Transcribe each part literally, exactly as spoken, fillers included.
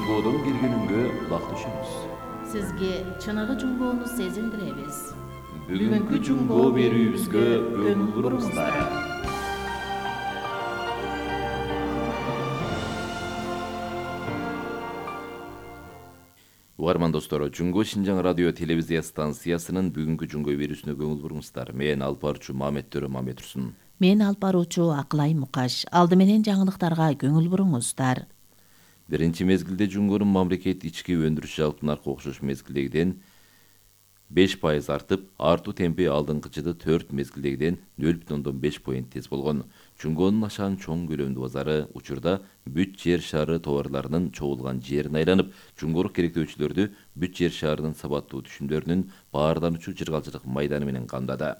Жунгодон келгениңге кулак түшөбүз. Сизге чыныгы жунгоону сезиндиребиз. Бүгүнкү жунгоо берүүбүзгө көңүл буруңуздар. Угарман достор, Жунгоо Шинжаң радио телевизия станциясынын бүгүнкү жунгоо берүүсүнө көңүл буруңуздар. Мен алып баруучу Мамет Төрө Мамет Турсун. Мен алып баруучу Акылай Мукаш. Алды менен жаңылыктарга көңүл буруңуздар. Биринчи мезгилде жунгонун мамлекет ички өндүрүш жалпы наркы окшош мезгилдегиден беш пайыз артып, артуу темпи алдыңкы жылы төрт мезгилдегиден нөл бүтүн ондон беш поинт тез болгон. Жунгонун ашаан чоң көлөмдүү базары учурда бүт жер шары товарларынын чогулган жерин айланып, жунгору керектөөчүлөрдү бүт жер шарынын сабаттуу түшүмдөрүнүн баарлануучу жыргалчылык майданы менен камдады.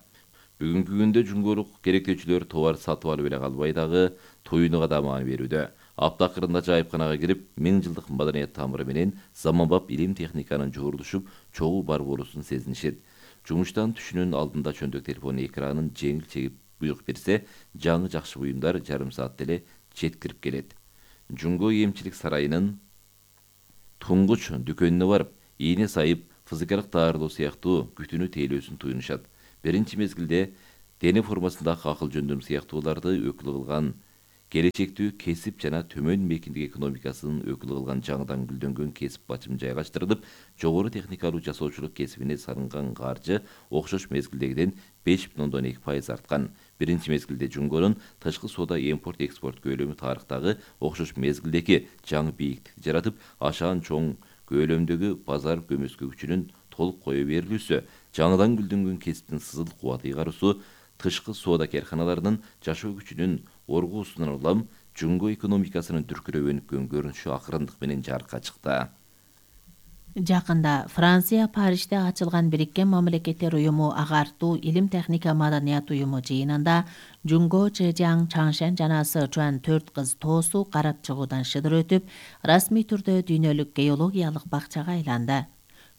Бүгүнкү күндө жунгорук керектөөчүлөр товар сатып алып эле калбай дагы туюнуга да маани берүүдө. Апта акырында жайыпканага кирип, миң жылдык маданият тамыры менен заманбап илим техниканын жуурулушуп, чогуу бар болуусун сезинишет. Жумуштан түшүнүн алдында чөндөк телефон экранын жеңил чегип буйрук берсе, жаңы жакшы буюмдар жарым саатта эле жеткирип келет. Жунгоо эмчилик сарайынын туңгуч дүкөнүнө барып, ийне сайып, физикалык даарылоо сыяктуу күтүүнү тейлөөсүн туюнушат. Биринчи мезгилде дене формасындагы акыл жөндөм сыяктууларды өкүл кылган, келечектүү кесип жана төмөн мейкиндик экономикасынын өкүл кылган жаңыдан гүлдөнгөн кесип бачым жайгаштырылып, жогору техникалуу жасоочулук кесибине салынган каржы окшош мезгилдегиден беш бүтүн ондон эки пайыз арткан. Биринчи мезгилде жунгонун тышкы соода импорт-экспорт көлөмү тарыхтагы окшош мезгилдеги жаңы бийиктик жаратып, ашаан чоң көлөмдөгү базар көмөскө күчүнүн толук кое берилүүсү, жаңыдан гүлдөнгөн кесиптин сызыл кубаты ыйгарусу, тышкы соода карканаларынын жашоо күчүнүн оргуусунан улам жунгоо экономикасынын дүркүрөп өнүккөн көрүнүшү акырындык менен жарыкка чыкты. Жакында Франция Парижде ачылган Бириккен Мамлекеттер уюму агартуу илим техника маданият уюму жыйынында Жунгоо Чжэжяң Чаңшен жана Сычуан төрт кыз тоосу карап чыгуудан шыдыр өтүп, расмий түрдө дүйнөлүк геологиялык бакчага айланды.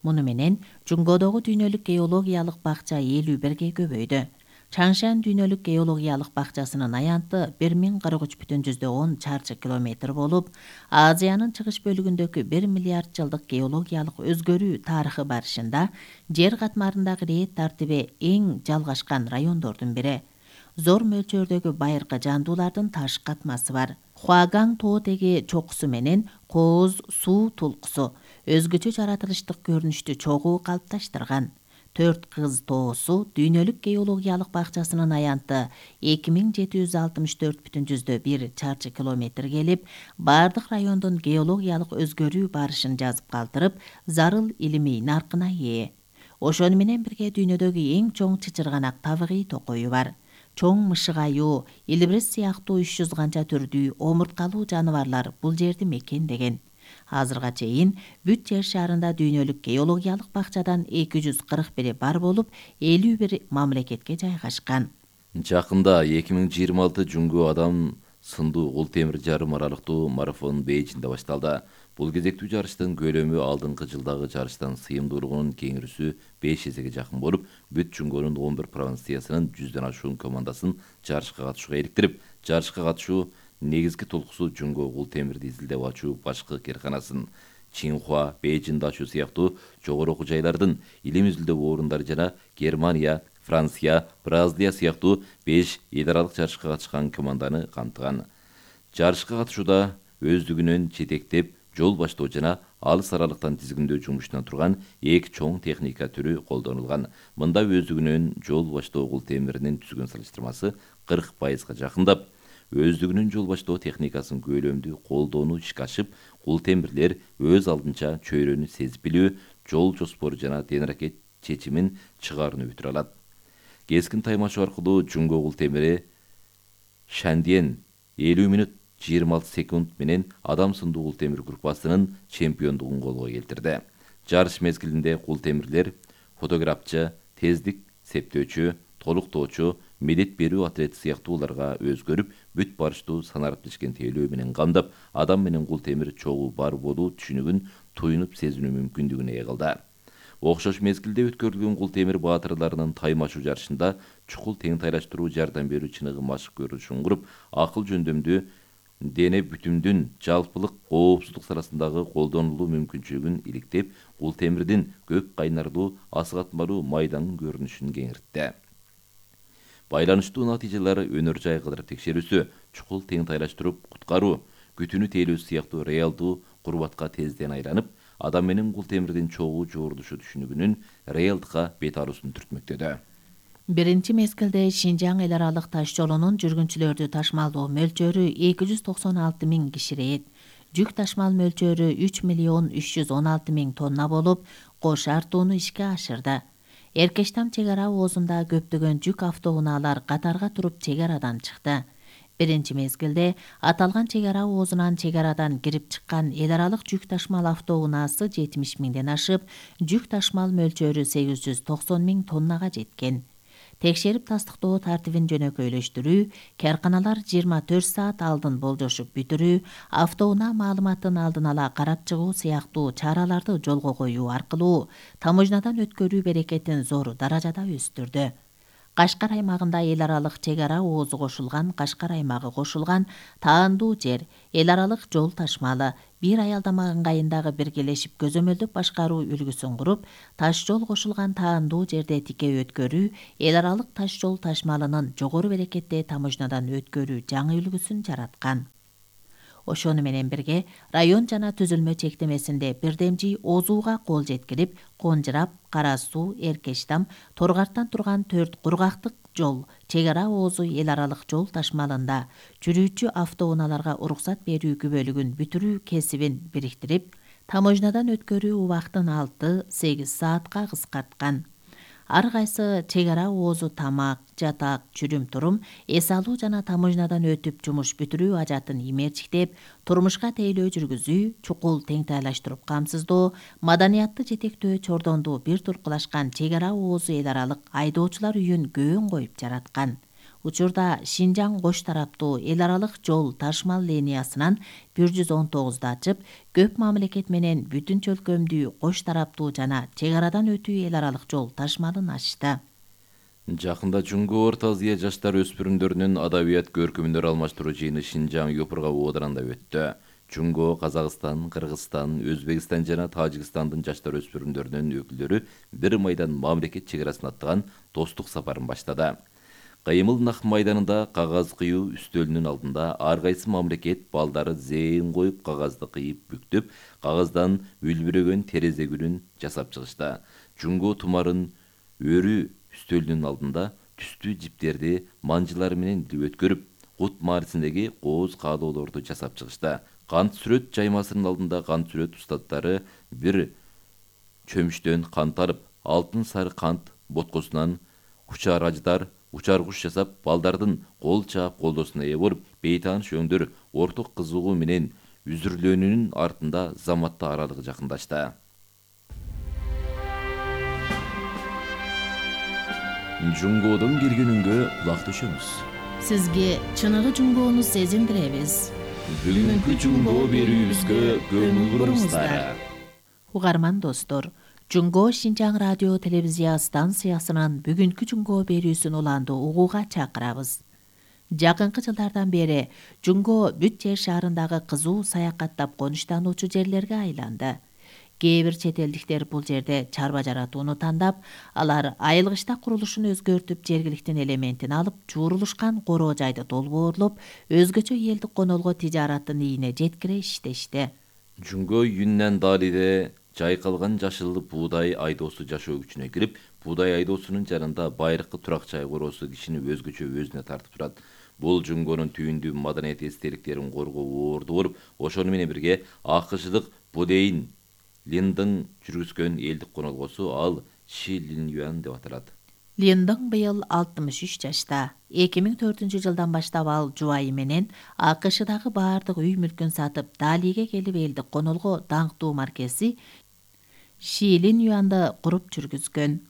Муну менен Жунгоодогу дүйнөлүк геологиялык бакча элүү бирге көбөйдү. Чаңшен дүйнөлүк геологиялык бакчасынын аянты бир миң кырк үч бүтүн жүздөн он чарчы километр болуп, Азиянын чыгыш бөлүгүндөгү бир миллиард жылдык геологиялык өзгөрүү тарыхы барышында жер катмарындагы рет тартиби эң жалгашкан райондордун бири. Зор мөлчөрдөгү байыркы жандуулардын таш катмасы бар. Хуагаң тоо теги чокусу менен кооз суу тулкусу өзгөчө жаратылыштык көрүнүштү чогуу калыпташтырган. Төрт кыз тоосу дүйнөлүк геологиялык бакчасынын аянты эки миң жети жүз алтымыш төрт бүтүн жүздөн бир чарчы километр келип, бардык райондун геологиялык өзгөрүү барышын жазып калтырып, зарыл илимий наркына ээ. Ошону менен бирге дүйнөдөгү эң чоң чычырганак табигый токою бар. Чоң мышык аюу, илбирес сыяктуу үч жүз канча түрдүү омурткалуу жаныбарлар бул жерди мекендеген. Азырга чейин бүт жер шарында дүйнөлүк геологиялык бакчадан эки жүз кырк бири бар болуп, элүү бир мамлекетке жайгашкан. Жакында эки миң жыйырма алты Жунгоо адам сындуу кул темир жарым аралыктуу марафон Бейжиңде башталды. Бул кезектүү жарыштын көлөмү алдыңкы жылдагы жарыштан сыйымдуулугунун кеңирүүсү беш эсеге жакын болуп, бүт Жунгонун он бир провинциясынын жүздөн ашуун командасын жарышка катышууга иликтирип, жарышка катышуу негизги толкусу Жунгоо кул темирди изилдеп ачуу башкы кээрканасын Чинхуа, Бейжиңде ачуу сыяктуу жогору окуу жайлардын илим изилдөө орундары жана Германия, Франция, Бразилия сыяктуу беш эл аралык жарышка катышкан команданы камтыган. Жарышка катышууда өздүгүнөн жетектеп, жол баштоо жана алыс аралыктан тизгиндөө жумушунан турган эки чоң техника түрү колдонулган. Мында өздүгүнөн жол баштоо кул темиринин түзгөн салыштырмасы кырк пайызга жакындап, өздүгүнүн жол баштоо техникасын көлөмдүү колдоону ишке ашып, кул темирлер өз алдынча чөйрөнү сезип билүү, жол жоспору жана тенаракет чечимин чыгарууну бүтүрө алат. Кескин таймашуу аркылуу Жунгоо кул темири Шандиен элүү мүнөт жыйырма алты секунд менен адам сындуу кул темир группасынын чемпиондугун колго келтирди. Жарыш мезгилинде кул темирлер фотографчы, тездик септөөчү, толуктоочу, медет берүү атлети сыяктууларга өзгөрүп, бүт барыштуу санарып тишкен тейлөө менен камдап, адам менен кул темир чогуу бар болуу түшүнүгүн туюнуп сезинүү мүмкүндүгүнө ээ кылды. Окшош мезгилде өткөрүлгөн кул темир баатырларынын таймашуу жарышында чукул тең тайлаштыруу жардам берүү чыныгы машык көрүнүшүн куруп, акыл жөндөмдүү дене бүтүмдүн жалпылык коопсуздук саласындагы колдонулуу мүмкүнчүлүгүн иликтеп, кул темирдин көк кайнарлуу асыгатмалуу майданын көрүнүшүн кеңиртти. Байланыштуу натыйжалары өнөр жай кыдырып текшерүүсү, чукул тең тайлаштырып куткаруу, күтүүнү тейлөө сыяктуу реалдуу курбатка тезден айланып, адам менен кул темирдин чогуу жуурулушу түшүнүгүнүн реалдыкка бет алуусун түртмөктөдө. Биринчи мезгилде Шинжаң эл аралык таш жолунун жүргүнчүлөрдү ташмалдоо мөлчөрү эки жүз токсон алты миң киширейт. Жүк ташмал мөлчөрү үч миллион үч жүз он алты миң тонна болуп, кош артууну ишке ашырды. Эркештам чек ара оозунда көптөгөн жүк автоунаалар катарга туруп чек арадан чыкты. Биринчи мезгилде аталган чек ара оозунан чек арадан кирип чыккан эл аралык жүк ташмал автоунаасы жетимиш миңден ашып, жүк ташмал мөлчөрү сегиз жүз токсон миң тоннага жеткен. Текшерип тастыктоо тартибин жөнөкөйлөштүрүү, карканалар жыйырма төрт саат алдын болжошуп бүтүрүү, автоунаа маалыматын алдын ала карап чыгуу сыяктуу чараларды жолго коюу аркылуу таможнядан өткөрүү берекетин зор даражада өстүрдү. Кашкар аймагында эл аралык чек ара оозу кошулган, Кашкар аймагы кошулган таандуу жер, эл аралык жол ташмалы бир аялдама ыңгайындагы биргелешип көзөмөлдөп башкаруу үлгүсүн куруп, таш жол кошулган таандуу жерде тике өткөрүү, эл аралык таш жол ташмалынын жогору берекетте таможнядан өткөрүү жаңы үлгүсүн жараткан. Ошону менен бирге район жана түзүлмө чектемесинде бирдемжи Озууга кол жеткирип, Конжырап, Кара Суу, Эркештам, Торгартан турган төрт кургактык жол, чек ара оозу эл аралык жол ташмалында жүрүүчү автоунааларга уруксат берүү күбөлүгүн бүтүрүү кесибин бириктирип, таможнядан өткөрүү убактын алты-сегиз саатка кыскарткан. Ар кайсы чек ара оозу тамак, жатак, чүрүм-турум, эс алуу жана таможнядан өтүп жумуш бүтүрүү ажатын имерчиктеп, турмушка тейлөө жүргүзүү, чукул тең тайлаштырып камсыздоо, маданиятты жетектөө чордонду бир туркулашкан чек ара оозу эл аралык айдоочулар үйүн көөн коюп жараткан. Учурда Шинжаң кош тараптуу эл аралык жол ташмал линиясынан бир жүз он тогузду ачып, көп мамлекет менен бүтүн чөлкөмдүү кош тараптуу жана чек арадан өтүү эл аралык жол ташмалын ачты. Жакында Жумго Орто Азия жаштар өспүрүмдөрүнүн адабият көркөмдөр алмаштыруу жыйыны Шинжаң Юпурга ооданында өттү. Жумго, Казакстан, Кыргызстан, Өзбекстан жана Тажикстандын жаштар өспүрүмдөрүнүн өкүлдөрү бир майдан мамлекет чек арасын аттаган достук сапарын баштады. Кыймыл нак майданында кагаз кыюу үстөлүнүн алдында ар кайсы мамлекет балдары зээн коюп кагазды кыйып бүктөп, кагаздан үлбүрөгөн терезе гүлүн жасап чыгышты. Жумго тумарын өрү үстөлүнүн алдында түстүү жиптерди манжылар менен өткөрүп, кут маарисиндеги кооз каалоолорду жасап чыгышты. Кант сүрөт жаймасынын алдында кант сүрөт устаттары бир чөмүчтөн кант алып, алтын сары кант боткосунан учар аждар учар куш жасап, балдардын кол чаап колдоосуна ээ болуп, бейтааныш өңдөр орток кызыгуу менен үзүрлөөнүнүн артында заматта аралыгы жакындашты. Жумгодон келгенүнгө кулак төшөмүз. Сизге чыныгы жумгоону сезиндиребиз. Бүгүнкү жумго берүүбүзгө көңүл буруңуздар. Угарман достор, Жумго Шинжаң радио телевизия станциясынын бүгүнкү жумго берүүсүн уланды угууга чакырабыз. Жакынкы жылдардан бери Жумго бүт жер шаарындагы кызуу саякаттап конуштануучу жерлерге айланды. Кээ бир чет элдиктер бул жерде чарба жаратууну тандап, алар айылгычта курулушун өзгөртүп, жергиликтин элементин алып, жуурулушкан короо жайды долбоорлоп, өзгөчө элдик конолго тижараттын ийине жеткире иштешти. Жумго Юннан Далиде жайкалган жашыл буудай айдоосу жашоо күчүнө кирип, буудай айдоосунун жанында байыркы турак жай короосу кишини өзгөчө өзүнө тартып турат. Бул Жумгонун түйүндүү маданият эстеликтерин коргоо орду болуп, ошону менен бирге АКШдык Будейн Линдың жүргүзгөн элдик конолгосу, ал Ши Лин Юан деп аталат. Линдың быйыл алтымыш үч жашта. эки миң төртүнчү жылдан баштап ал жубайы менен АКШдагы баардык үй мүлкүн сатып, Далиге келип элдик конолго даңктуу маркеси Ши Лин Юанды куруп жүргүзгөн.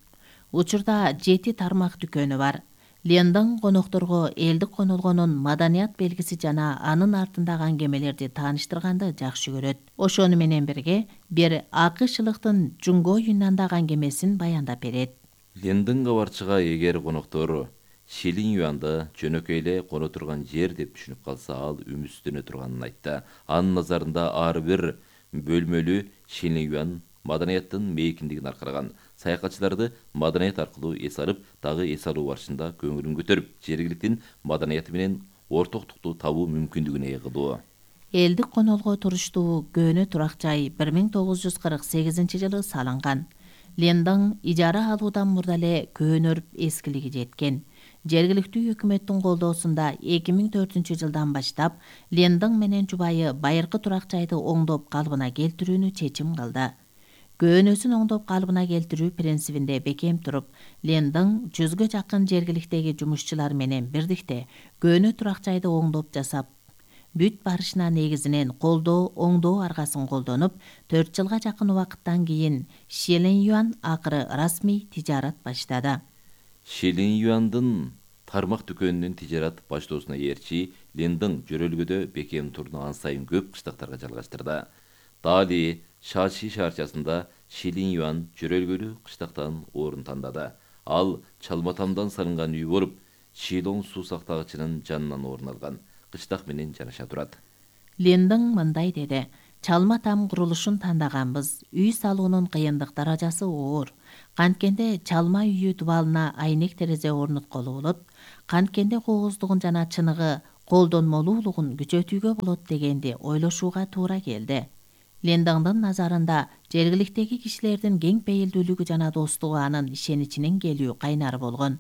Учурда жети тармак дүкөнү бар. Линдың конокторго элдик конолгонун маданият белгиси жана анын артындагы аңгемелерди тааныштырганды жакшы көрөт. Ошону менен бирге бир АКШлыктын Жумго Юннандагы аңгемесин баяндап берет. Линдың кабарчыга эгер коноктор Шилин Юанды жөнөкөй эле коно турган жер деп түшүнүп калса, ал үмүттөнө турганын айтты. Анын назарында ар бир бөлмөлүү Шилин Юан маданияттын мейкиндигин аркыраган. Саякатчыларды маданият аркылуу эс алып, дагы эс алуу барышында көңүлүн көтөрүп, жергиликтин маданияты менен ортоктукту табуу мүмкүндүгүнө ээ кылуу. Элдик конолго туруштуу көөнө турак жай бир миң тогуз жүз кырк сегизинчи жылы салынган. Лендың ижара алуудан мурда эле көөнөрүп эскилиги жеткен. Жергиликтүү өкмөттүн колдоосунда эки миң төртүнчү жылдан баштап Лендың менен жубайы байыркы турак жайды оңдоп калыбына келтирүүнү чечим кылды. Көөнөсүн оңдоп калыбына келтирүү принцибинде бекем туруп, Лендың жүзгө жакын жергиликтеги жумушчулар менен бирдикте көөнө турак жайды оңдоп жасап бүт барышына негизинен колдоо, оңдоо аргасын колдонуп, төрт жылга жакын убакыттан кийин Шилин Юан акыры расмий тижарат баштады. Шилин Юандын тармак дүкөнүнүн тижарат баштоосуна ээрчи Лендың жөрөлгөдө бекем турну ан сайын көп кыштактарга жалгаштырды. Дали Шаши шаарчасында Шилин Юан жөрөлгөлүү кыштактан орун тандады. Ал чалма-тамдан салынган үй болуп, Шилоң суу сактагычынын жанынан орун алган. Кыштак менен жараша турат. Лендың мындай деди: чалма там курулушун тандаганбыз. Үй салуунун кыйындык даражасы оор. Канткенде чалма үйү дубалына айнек терезе орнотколо болот. Канткенде кооздугун жана чыныгы колдонмолуулугун күчөтүүгө болот дегенди ойлошууга туура келди. Лендыңдын назарында жергиликтеги кишилердин кең пейилдүүлүгү жана достугу анын ишеничинин келүү кайнары болгон.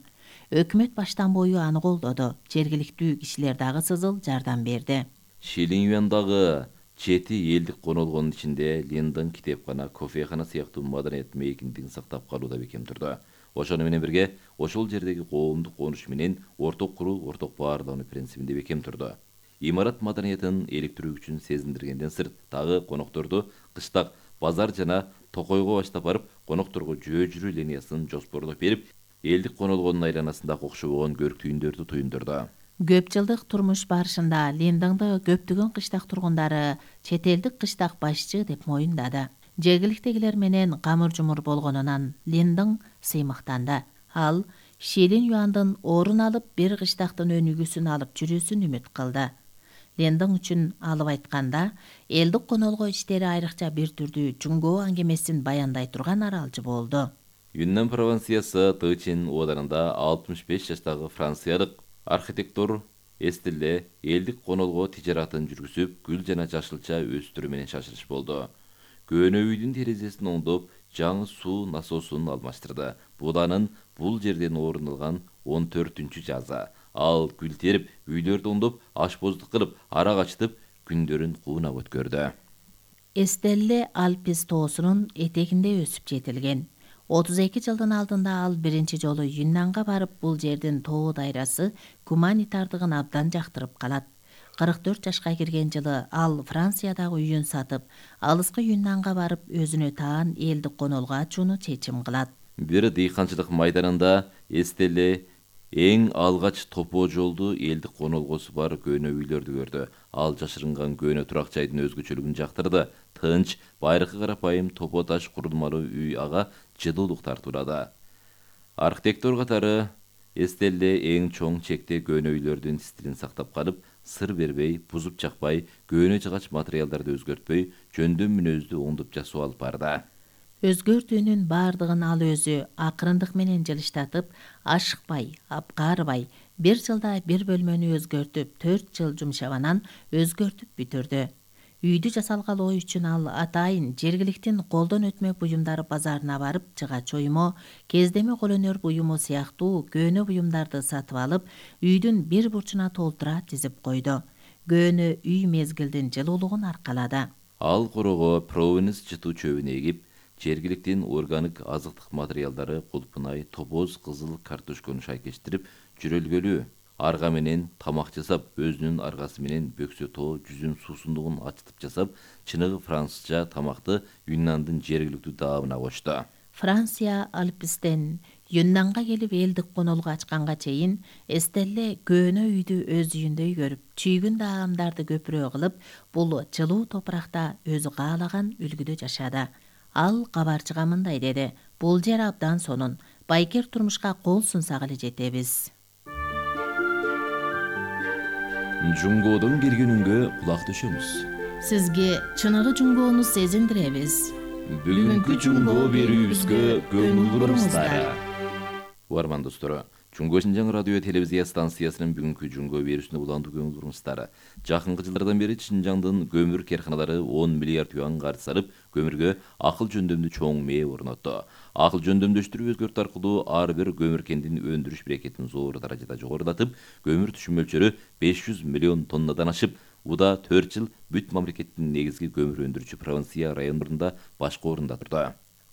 Өкмөт баштан бою аны колдоду. Жергиликтүү кишилер дагы сызыл жардам берди. Шилин Юандагы жети элдик конолгонун ичинде Лендың китепкана, кофехана сыяктуу маданият мейкиндигин сактап калууда бекем турду. Ошону менен бирге ошол жердеги коомдук конуш менен орток куруу, орток баарлануу принцибинде бекем турду. Имарат маданиятын эликтирүү үчүн сезиндиргенден сырт, дагы конокторду кыштак, базар жана токойго баштап барып, конокторго жөө жүрүү линиясын жоспорлоп берип, элдик конолгонун айланасында окшобогон көрктүйүндөрдү туюндурду. Көп жылдык турмуш барышында Лендыңды көптөгөн кыштак тургундары чет элдик кыштак башчы деп моюндады. Жергиликтегилер менен камыр-жумур болгонунан Лендың сыймыктанды. Ал Шилин Юандын орун алып, бир кыштактын өнүгүүсүн алып жүрүүсүн үмүт кылды. Лендың үчүн алып айтканда, элдик конолго иштери айрыкча бир түрдүү жуңгоо аңгемесин баяндай турган аралжы болду. Юннан провинциясы Тычин оодарында алтымыш беш жаштагы франциялык архитектор Эстелле элдик конолго тижаратын жүргүзүп, гүл жана жашылча өстүрүү менен шашылыш болду. Көөнө үйдүн терезесин оңдоп, жаңы суу насосун алмаштырды. Бул анын бул жерден орун алган он төртүнчү жазы. Ал гүл терип, үйлөрдү оңдоп, ашпоздук кылып, арак ачтып, күндөрүн куунап өткөрдү. Эстелле Альпис тоосунун этегинде өсүп жетилген. отуз эки жылдын алдында ал биринчи жолу Юннанга барып, бул жердин тоо дайрасы гуманитардыгын абдан жактырып калат. кырк төрт жашка кирген жылы ал Франциядагы үйүн сатып, алыскы Юннанга барып, өзүнө таан элдик конолго ачууну чечим кылат. Бир дыйканчылык майданында Эстелле эң алгач топоо жолду элдик конолгосу бар көөнө үйлөрдү көрдү. Ал жашырынган көөнө турак жайдын өзгөчөлүгүн жактырды. Тынч, байыркы карапайым топо таш курулмалуу үй ага жылуулук тартуулады. Архитектор катары Эстелле эң чоң чекте көөнө үйлөрдүн стилин сактап калып, сыр бербей, бузуп жакпай, көөнө жыгач материалдарды өзгөртпөй, жөндөм мүнөздү оңдоп жасоо алып барды. Өзгөртүүнүн бардыгын ал өзү акырындык менен жылыштатып, ашыкпай, апкаарыбай, бир жылда бир бөлмөнү өзгөртүп, төрт жыл жумшабанан өзгөртүп бүтүрдү. Үйдү жасалгалоо үчүн ал атайын жергиликтин колдон өтмө буюмдары базарына барып, жыгач уюму, кездеме кол өнөр буюму сыяктуу көөнө буюмдарды сатып алып, үйдүн бир бурчуна толтура тизип койду. Көөнө үй мезгилдин жылуулугун аркалады. Ал корого провенс жытуу чөбүн эгип, жергиликтин органик азыктык материалдары кулпунай, топоз, кызыл картошкону шайкештирип, жөрөлгөлүү арга менен тамак жасап, өзүнүн аргасы менен бөксө тоо жүзүн суусундугун ачытып жасап, чыныгы французча тамакты Юннандын жергиликтүү даамына кочту. Франция Альпистен Юннанга келип элдик конолго ачканга чейин Эстелле көөнө үйдү өз үйүндөй көрүп, чүйгүн даамдарды көпүрө кылып, бул жылуу топуракта өзү каалаган үлгүдө жашады. Ал кабарчыга мындай деди: "Бул жер абдан сонун. Байкер турмушка кол сунсак эле жетебиз." Жунгодон келген үнгө кулак төшөмүз. Сизге чыныгы жунгоону сезиндиребиз. Бүгүнкү жунго берүүбүзгө көңүл буруңуздар. Угарман достор, Жунго Шинжаң радио телевизия станциясынын бүгүнкү жунго берүүсүнө уландуу көңүл буруңуздар. Жакынкы жылдардан бери Шинжаңдын көмүр карканалары он миллиард юан каржы салып, көмүргө акыл жөндөмдүү чоң мээ орнотту. Акыл жөндөмдөштүрүү өзгөртүү аркылуу ар бир көмүр кендин өндүрүш берекетин зор даражада жогорулатып, көмүр түшүм мөлчөрү беш жүз миллион тоннадан ашып, уда төрт жыл бүт мамлекеттин негизги көмүр өндүрүүчү провинция райондорунда башкы орунда турду.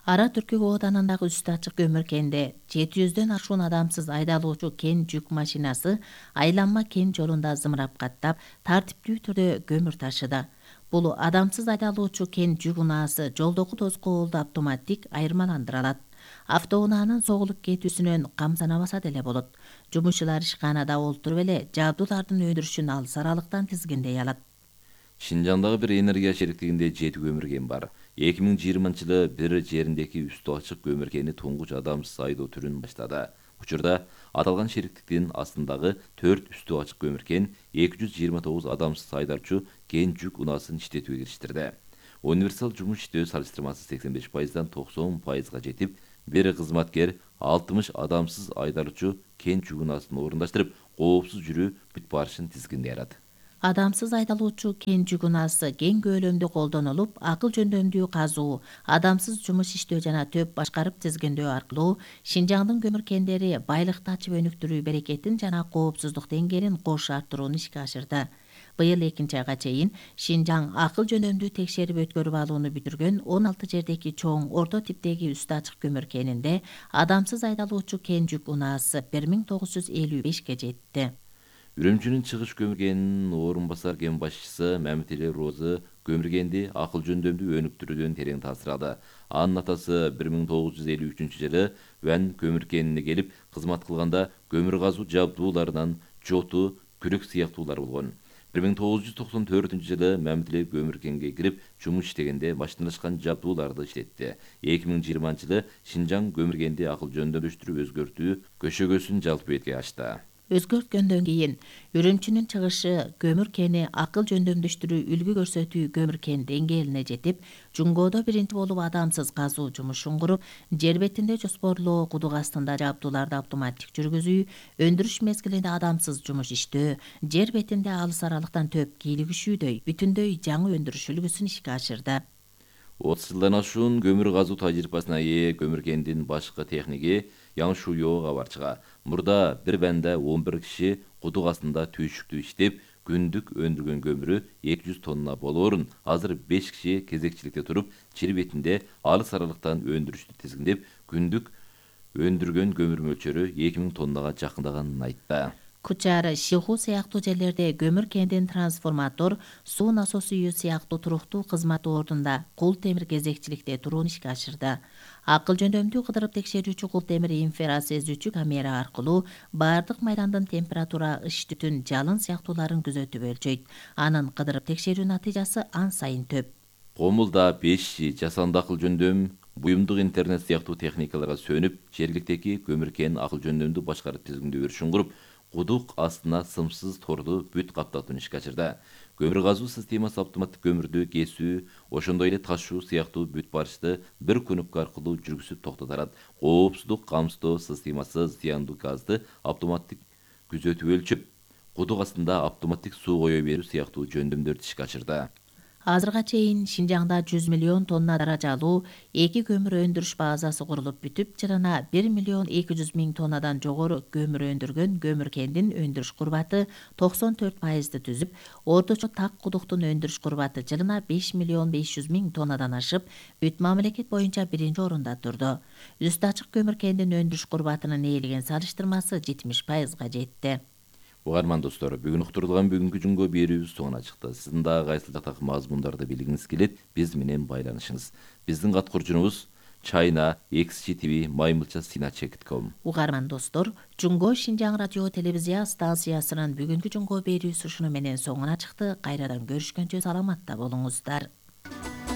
Ара Түркү ооданындагы үстү ачык көмүр кенде жети жүздөн ашуун адамсыз айдалуучу кен жүк машинасы айланма кен жолунда зымырап каттап, тартиптүү түрдө көмүр ташыды. Бул адамсыз айдалуучу кен жүк унаасы жолдогу тоскоолду автоматтик айырмаландыра алат. Автоунаанын согулуп кетүүсүнөн камсанабаса деле болот. Жумушчулар ишканада олтуруп эле жабдуулардын өндүрүшүн алыс аралыктан тизгиндей алат. Шинжаңдагы бир энергия шериктигинде жети көмүр кен бар. эки миң жыйырманчы жылы бир жериндеки үстү ачык көмүр кени туңгуч адамсыз айдоо түрүн баштады. Учурда аталган шериктиктин астындагы төрт үстү ачык көмүр кен эки жүз жыйырма тогуз адамсыз айдарчу кен жүк унаасын иштетүүгө кириштерди. Универсал жумуш иштөө салыштырмасы сексен беш пайыздан токсон пайызга жетип, бир кызматкер алтымыш адамсыз айдарчу кен жүк унаасын орундаштырып, коопсуз жүрүү бүт барышын тизгиндей алат. Адамсыз айдалуучу кен жүк унаасы кең көлөмдүү колдонулуп, акыл жөндөмдүү казуу, адамсыз жумуш иштөө жана төп башкарып тизгиндөө аркылуу Шинжаңдын көмүр кендери байлыкты ачып өнүктүрүү берекетин жана коопсуздук деңгээлин кош арттырууну ишке ашырды. Быйыл экинчи айга чейин Шинжаң акыл жөндөмдүү текшерип өткөрүп алууну бүтүргөн он алты жердеки чоң орто типтеги үстү ачык көмүр кенинде адамсыз айдалуучу кен жүк унаасы бир миң тогуз жүз элүү бешке жетти. Үрүмчүнүн чыгыш көмүр кенинин орун басар кен башчысы Мамтели Розы көмүр кенди акыл жөндөмдүү өнүктүрүүдөн терең таасир алды. Анын атасы бир миң тогуз жүз элүү үчүнчү жылы Ван көмүр кенине келип кызмат кылганда көмүр казуу жабдууларынан жоту, күрөк сыяктуулар болгон. бир миң тогуз жүз токсон төртүнчү жылы Мамтели көмүр кенге кирип жумуш иштегенде машиналашкан жабдууларды иштетти. эки миң жыйырманчы жылы Шинжаң көмүр кенди акыл жөндөмдөштүрүү өзгөртүү көшөгөсүн жалпы бетке ачты. Өзгөрткөндөн кийин Үрүмчүнүн чыгышы көмүр кени акыл жөндөмдөштүрүү үлгү көрсөтүү көмүр кен деңгээлине жетип, Жунгоодо биринчи болуп адамсыз казуу жумушун куруп, жер бетинде жоспорлоо, кудук астында жабдууларды автоматтик жүргүзүү, өндүрүш мезгилинде адамсыз жумуш иштөө, жер бетинде алыс аралыктан төп кийлигишүүдөй бүтүндөй жаңы өндүрүш үлгүсүн ишке ашырды. отуз жылдан ашуун көмүр казуу тажрыйбасына ээ көмүр кендин башкы техниги Яң Шуйо кабарчыга. Мурда бир банда он бир киши кудук астында түйшүктүү иштеп, күндүк өндүргөн көмүрү эки жүз тонна болоорун, азыр беш киши кезекчиликте туруп, жер бетинде алыс аралыктан өндүрүштү тизгиндеп, күндүк өндүргөн көмүр мөлчөрү эки миң тоннага жакындаганын айтты. Кучар, Шиху сыяктуу жерлерде көмүр кендин трансформатор, суу насос үйү сыяктуу туруктуу кызмат ордунда кул темир кезекчиликте турууну ишке ашырды. Акыл жөндөмдүү кыдырып текшерүүчү кул темир инфрасезүүчү камера аркылуу баардык майдандын температура, ыш түтүн, жалын сыяктууларын күзөтүп өлчөйт. Анын кыдырып текшерүү натыйжасы ан сайын төп. Комулда пеш, жасанды акыл жөндөм, буюмдук интернет сыяктуу техникаларга сөнүп, жергиликтеги көмүр кен акыл жөндөмдүү башкарып тизгиндөө беришин куруп, кудук астына сымсыз торду бүт каптатууну ишке ашырды. Көмүр казуу системасы автоматтык көмүрдү кесүү, ошондой эле ташуу сыяктуу бүт барышты бир кнопка аркылуу жүргүзүп токтотот. Коопсуздук камсыздоо системасы зыяндуу газды автоматтык күзөтүп өлчөп, кудук астында автоматтык суу кое берүү сыяктуу жөндөмдөрдү ишке ашырды. Азырга чейин Шинжаңда жүз миллион тонна даражалуу эки көмүр өндүрүш базасы курулуп бүтүп, жылына бир миллион эки жүз миң тоннадан жогору көмүр өндүргөн көмүр кендин өндүрүш курбаты токсон төрт пайызды түзүп, орточо так кудуктун өндүрүш курбаты жылына беш миллион беш жүз миң тоннадан ашып, бүт мамлекет боюнча биринчи орунда турду. Үстү ачык көмүр кендин өндүрүш курбатынын ээлеген салыштырмасы жетимиш пайызга жетти. Угарман достор, бүгүн уктурулган бүгүнкү жунго берүүбүз соңуна чыкты. Сиздин дагы кайсыл жактагы мазмундарды билгиңиз келет, биз менен байланышыңыз. Биздин каткурчубуз China X G T V маймылча сина чек точка ком. Угарман достор, Жунго Шинжаң радио телевизия станциясынын бүгүнкү жунго берүүсү ушуну менен соңуна чыкты. Кайрадан көрүшкөнчө саламатта болуңуздар.